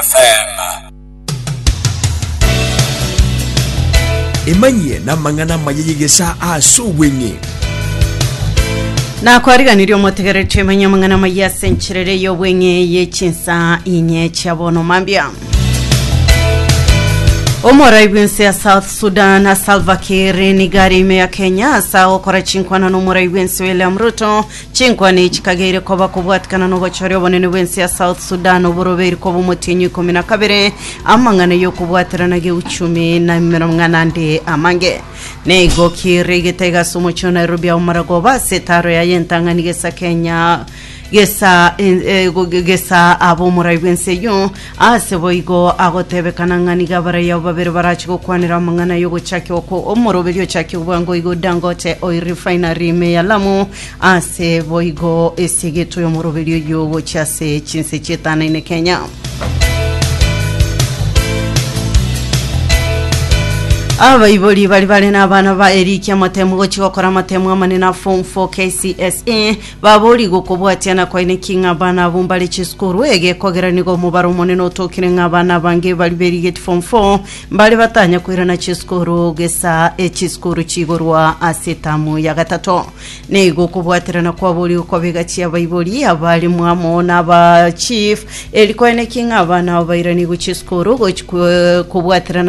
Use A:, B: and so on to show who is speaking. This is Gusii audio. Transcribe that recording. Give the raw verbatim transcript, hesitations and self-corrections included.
A: F M.
B: Emanyie namang'ana amaya y'egesaa ase obweng'e.
C: Nakwariganirie omotegereri twemanye amang'ana amaya ase encherere y'obweng'e y'echinsa inye chia bono mambia. Omorai bw'ense ya South Sudan Salva Kiir nigo are ime ya Kenya ase agokora chinkwana na omorai bw'ense William Ruto. Chinkwana echi chikageire koba kobwatikana na obochori obonene bw'ense ya South Sudan oborobeiri koba omotienyi ikomi na kabere, amang'ana y'okobwaterana geuchumi na emerong'ana ande amange. Nigo Kiir aigete ase omochie o Nairobi ao maragoba ase etaro yaye entang'ani gesa Kenya gesa eh, gesa abo omorai bw'ense eyio. Ase boigo agotebekana ng'a nigo abarai abo babere barachi gokwanera amang'ana yogochakia oko omoroberi ochakia bwango igo Dangote Oil Refinery ime ya Lamu. Ase boigo esegeto y'omoroberi oyo gochia ase chinse chietanaine Kenya. Abaibori bari bare n'abana ba eriki amatemu gochi gokora amatemu amanene a form four K C S E babori gokobwatiana kwaine ki ng'a abana abo mbare chisukuru egekogera nigo omobaro omonene otokire ng'a abana abange bari berigeti form four mbare batanya koirana chisukuru gesa echisukuru chigorwa ase etamu ya gatato. Nigo okobwaterana kwabori okobega chia abaibori, abarimu amo n'aba chief eri kwaine ki ng'a abana abo bairani gochia esukuru gochi kobwaterana.